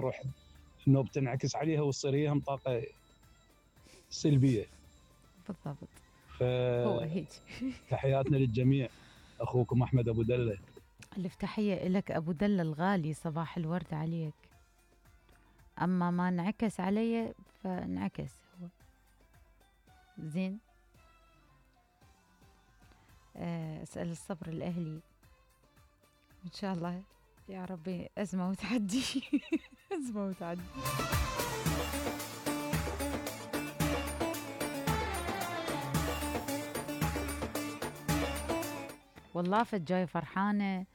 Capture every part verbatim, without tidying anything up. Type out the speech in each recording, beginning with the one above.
تروح النوب تنعكس عليها وتصير هي هم طاقة سلبية. بالضبط. ف هو هيك. تحياتنا للجميع. أخوكم أحمد أبو دلة. ألف تحية لك أبو دلة الغالي، صباح الورد عليك. أما ما انعكس علي فانعكس هو زين. أسأل الصبر الأهلي إن شاء الله يا ربي. أزمة وتعدي. أزمة وتعدي. والله فجاي فرحانة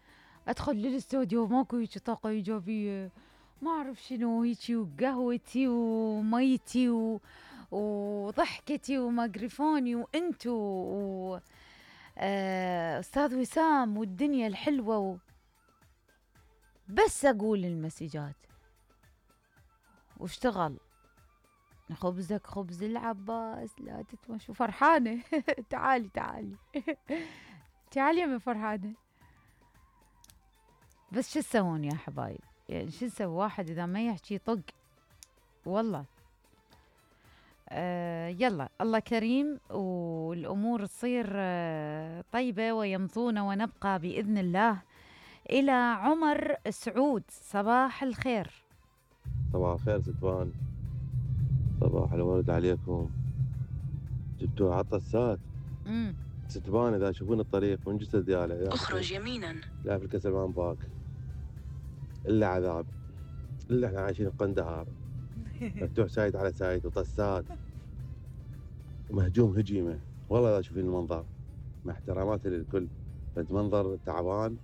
أدخل للاستوديو ماكو هيك طاقة إيجابية، ما أعرف شنو هيك، وقهوتي وميتي و... وضحكتي وميكروفوني وأنتو و... آه... أستاذ وسام والدنيا الحلوة و... بس أقول المسجات واشتغل. خبزك خبز العباس لا تتمشوا. فرحانة. تعالي تعالي. تعالي يا من فرحانة. بس شو تسوون يا حبايب؟ يعني شو نسوي واحد إذا ما يحكي طق والله. آه يلا الله كريم والأمور تصير آه طيبة ويمضون ونبقى بإذن الله. إلى عمر سعود، صباح الخير. صباح الخير ستوان، صباح الورد عليكم. جبتوا عطسات ستبان اذا تشوفون الطريق من جسد دياله اخرج يمينا لا في الكسلمان باك الا عذاب، الا احنا عايشين بقندهار. مفتوح سايد على سايد وطسات ومهجوم هجيمه. والله اذا تشوفين المنظر مع احتراماتي للكل، فانت منظر تعبان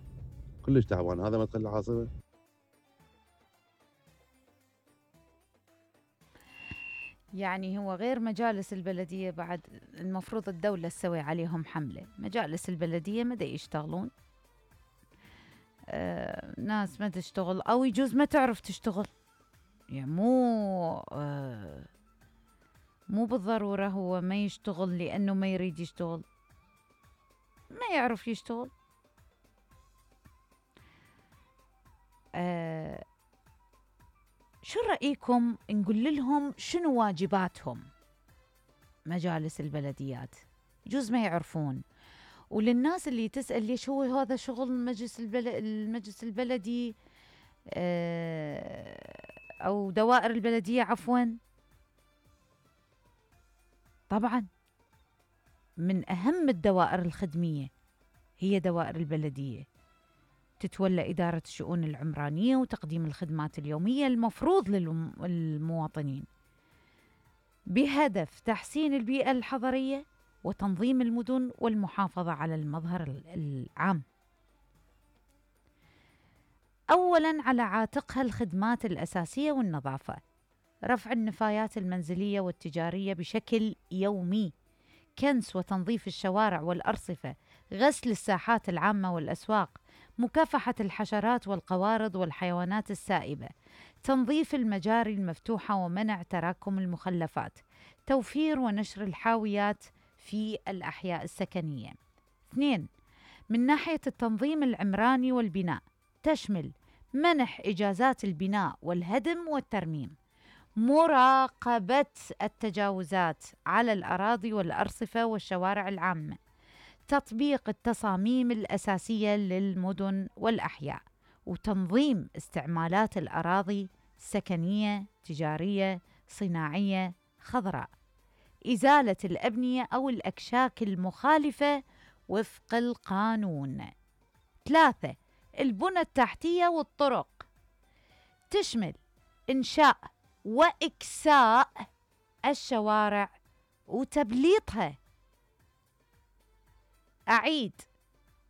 كلش تعبان. هذا مدخل العاصمه. يعني هو غير مجالس البلدية بعد المفروض الدولة تسوي عليهم حملة. مجالس البلدية ما دا يشتغلون، آه ناس ما تشتغل أو يجوز ما تعرف تشتغل. يعني مو آه مو بالضرورة هو ما يشتغل لأنه ما يريد يشتغل، ما يعرف يشتغل. آه شو رأيكم نقول لهم شنو واجباتهم مجالس البلديات؟ يجوز ما يعرفون. وللناس اللي تسأل ليش هو هذا شغل المجلس البلد المجلس البلدي أو دوائر البلدية عفوا، طبعا من أهم الدوائر الخدمية هي دوائر البلدية، تتولى إدارة الشؤون العمرانية وتقديم الخدمات اليومية المفروض للمواطنين بهدف تحسين البيئة الحضرية وتنظيم المدن والمحافظة على المظهر العام. أولاً على عاتقها الخدمات الأساسية والنظافة، رفع النفايات المنزلية والتجارية بشكل يومي، كنس وتنظيف الشوارع والأرصفة، غسل الساحات العامة والأسواق، مكافحة الحشرات والقوارض والحيوانات السائبة، تنظيف المجاري المفتوحة ومنع تراكم المخلفات، توفير ونشر الحاويات في الأحياء السكنية. اثنين، من ناحية التنظيم العمراني والبناء، تشمل منح إجازات البناء والهدم والترميم، مراقبة التجاوزات على الأراضي والأرصفة والشوارع العامة، تطبيق التصاميم الأساسية للمدن والأحياء، وتنظيم استعمالات الأراضي سكنية، تجارية، صناعية، خضراء، إزالة الأبنية أو الأكشاك المخالفة وفق القانون. ثلاثة، البنى التحتية والطرق، تشمل إنشاء وإكساء الشوارع وتبليطها. أعيد،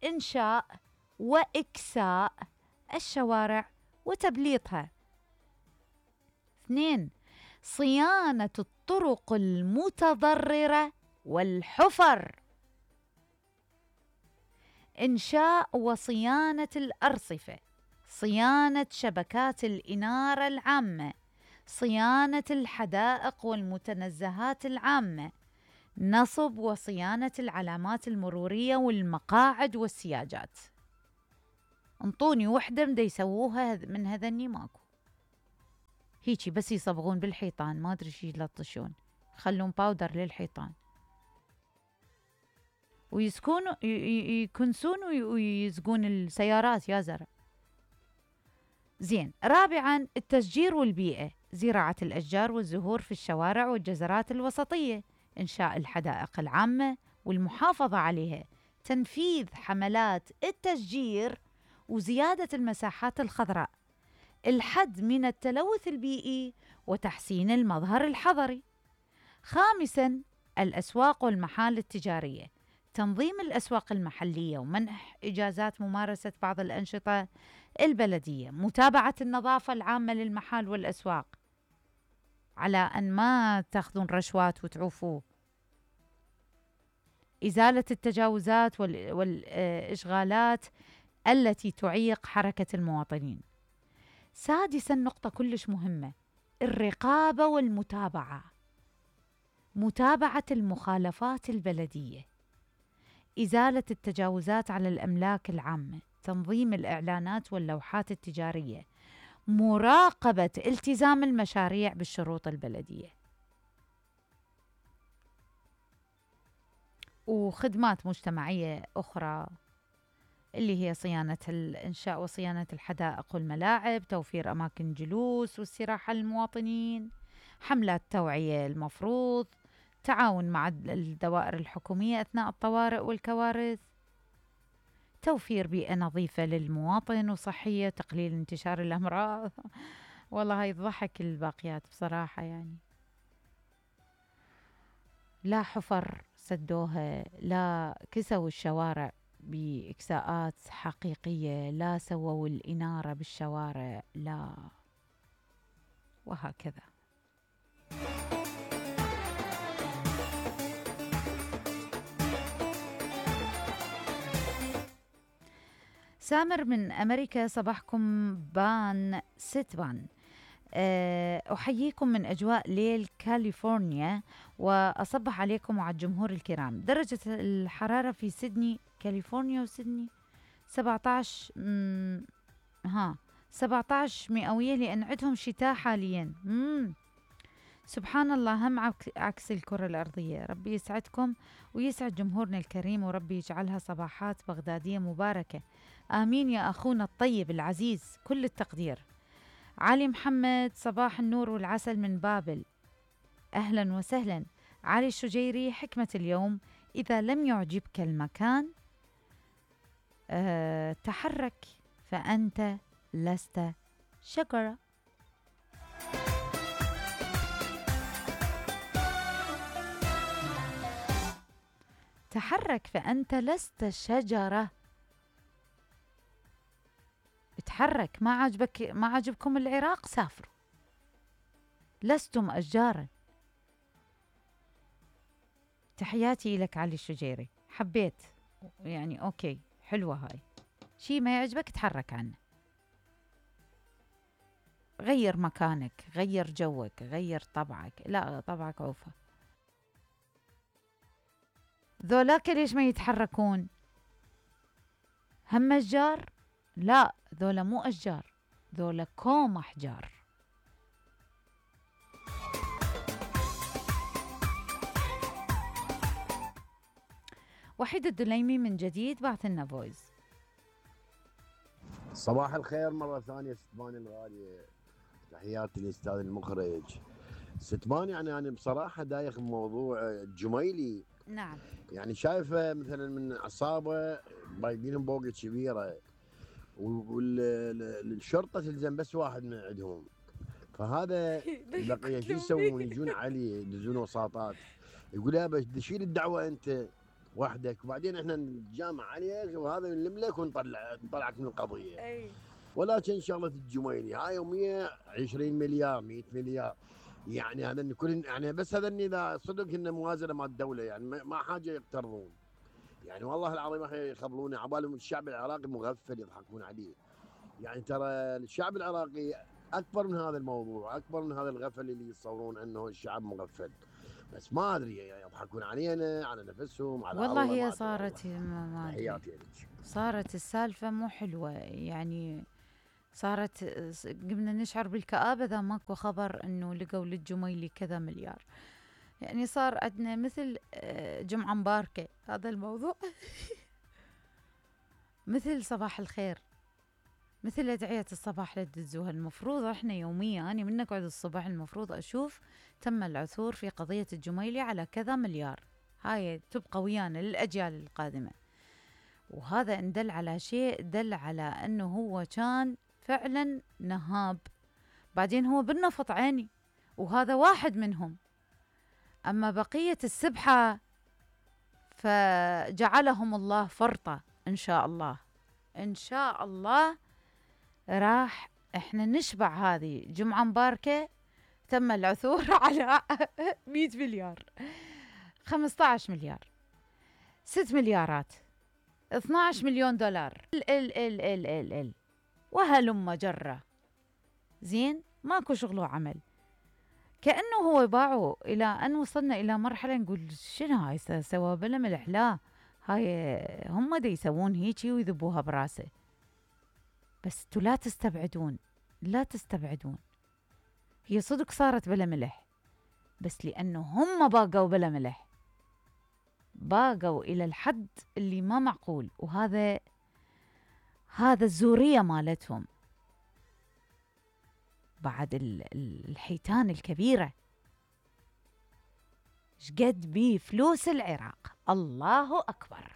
إنشاء وإكساء الشوارع وتبليطها. اثنين، صيانة الطرق المتضررة والحفر، إنشاء وصيانة الأرصفة، صيانة شبكات الإنارة العامة، صيانة الحدائق والمتنزهات العامة، نصب وصيانة العلامات المرورية والمقاعد والسياجات. انطوني وحدة مدا يسووها من هذني ماكو. هيجي بس يصبغون بالحيطان، ما ادري شي يلطشون، يخلون باودر للحيطان ويسكون يكنسون ويزقون السيارات يا زرع. زين. رابعا التشجير والبيئة، زراعة الأشجار والزهور في الشوارع والجزرات الوسطية، إنشاء الحدائق العامة والمحافظة عليها، تنفيذ حملات التشجير وزيادة المساحات الخضراء، الحد من التلوث البيئي وتحسين المظهر الحضري. خامسا الأسواق والمحال التجارية، تنظيم الأسواق المحلية ومنح إجازات ممارسة بعض الأنشطة البلدية، متابعة النظافة العامة للمحال والأسواق على أن ما تأخذون رشوات وتعوفوه، إزالة التجاوزات والإشغالات التي تعيق حركة المواطنين. سادسا نقطة كلش مهمة، الرقابة والمتابعة، متابعة المخالفات البلدية، إزالة التجاوزات على الأملاك العامة، تنظيم الإعلانات واللوحات التجارية، مراقبة التزام المشاريع بالشروط البلدية. وخدمات مجتمعية أخرى اللي هي صيانة الإنشاء وصيانة الحدائق والملاعب، توفير أماكن جلوس واستراحة للمواطنين، حملات توعية المفروض، تعاون مع الدوائر الحكومية أثناء الطوارئ والكوارث، توفير بيئة نظيفة للمواطن وصحية، تقليل انتشار الأمراض. والله هاي تضحك الباقيات بصراحة، يعني لا حفر سدوها، لا كسوا الشوارع بإكساءات حقيقية، لا سووا الإنارة بالشوارع، لا، وهكذا. سامر من أمريكا، صباحكم بان ستبان. أحييكم من أجواء ليل كاليفورنيا وأصبح عليكم وعلى الجمهور الكرام. درجة الحرارة في سيدني، كاليفورنيا وسيدني سبعة عشر ها سبعة عشر مئوية، لأن عندهم شتاء حاليا. مم. سبحان الله، هم عكس الكرة الأرضية. ربي يسعدكم ويسعد جمهورنا الكريم، وربي يجعلها صباحات بغدادية مباركة. آمين يا أخونا الطيب العزيز، كل التقدير. علي محمد، صباح النور والعسل من بابل، أهلا وسهلا. علي الشجيري، حكمة اليوم: إذا لم يعجبك المكان أه تحرك فأنت لست شجرة. تحرك فأنت لست شجرة. اتحرك. ما عجبك ما عجبكم العراق، سافروا، لستم أشجارا. تحياتي لك علي الشجيري، حبيت يعني، أوكي، حلوة هاي. شي ما يعجبك تحرك عنه، غير مكانك، غير جوك، غير طبعك. لا، طبعك عوفة. ذولاك ليش ما يتحركون؟ هم أشجار؟ لا، ذولا مو أشجار، ذولا كوم أحجار. وحيد الدليمي من جديد بعث لنا فويس. صباح الخير مرة ثانية ستبان الغالية، تحياتي للأستاذ المخرج. ستبان، يعني أنا بصراحة دايخ بموضوع الجميلي. نعم. يعني شايفة مثلا من عصابة بايدينهم بوقة كبيرة، والشرطة تلزم بس واحد من عندهم، فهذا البقية شو يسوون؟ يجون عليه يدزون وساطات، يقول يا بس شيل الدعوة أنت وحدك، وبعدين احنا نتجامع عليك وهذا نلم لك ونطلع نطلعك من القضية. أي. ولكن شغلة الجميلي هاي مية وعشرين مليار مية مليار، يعني هذا كل يعني بس هذا اذا صدق انه موازنه مع الدوله، يعني ما حاجه يقترضون، يعني والله العظيم اخي يخبلون عبالهم الشعب العراقي مغفل يضحكون عليه. يعني ترى الشعب العراقي اكبر من هذا الموضوع، اكبر من هذا الغفل اللي يتصورون انه الشعب مغفل، بس ما ادري يضحكون علينا، على نفسهم، على والله الله. هي صارت ما ما تحياتي لك. صارت السالفه مو حلوه، يعني صارت قمنا نشعر بالكآبة إذا ماكو خبر إنه لقوا للجميلي كذا مليار. يعني صار عندنا مثل جمعة مباركة هذا الموضوع. مثل صباح الخير، مثل أدعية الصباح اللي تدزوها. المفروض احنا يوميا أنا من نقعد الصبح المفروض أشوف تم العثور في قضية الجميلي على كذا مليار، هاي تبقى ويانا للأجيال القادمة. وهذا إن دل على شيء دل على أنه هو كان فعلا نهاب. بعدين هو بالنفط عيني وهذا واحد منهم. أما بقية السبحة فجعلهم الله فرطة. إن شاء الله إن شاء الله راح إحنا نشبع هذه جمعة مباركة. تم العثور على مئة مليار، خمسة عشر مليار، ست مليارات، اثني عشر مليون دولار، ال ال ال ال ال ال وهلم جرة. زين ماكو شغل وعمل. كأنه هو باعوا إلى أن وصلنا إلى مرحلة نقول شنو هاي سوى بلا ملح. لا، هاي هم دا يسوون هيجي ويذبوها براسه. بس انتوا لا تستبعدون، لا تستبعدون. هي صدق صارت بلا ملح، بس لأنه هم باقوا بلا ملح، باقوا إلى الحد اللي ما معقول. وهذا هذا الزورية مالتهم بعد الحيتان الكبيرة. شقد بيه فلوس العراق. الله أكبر.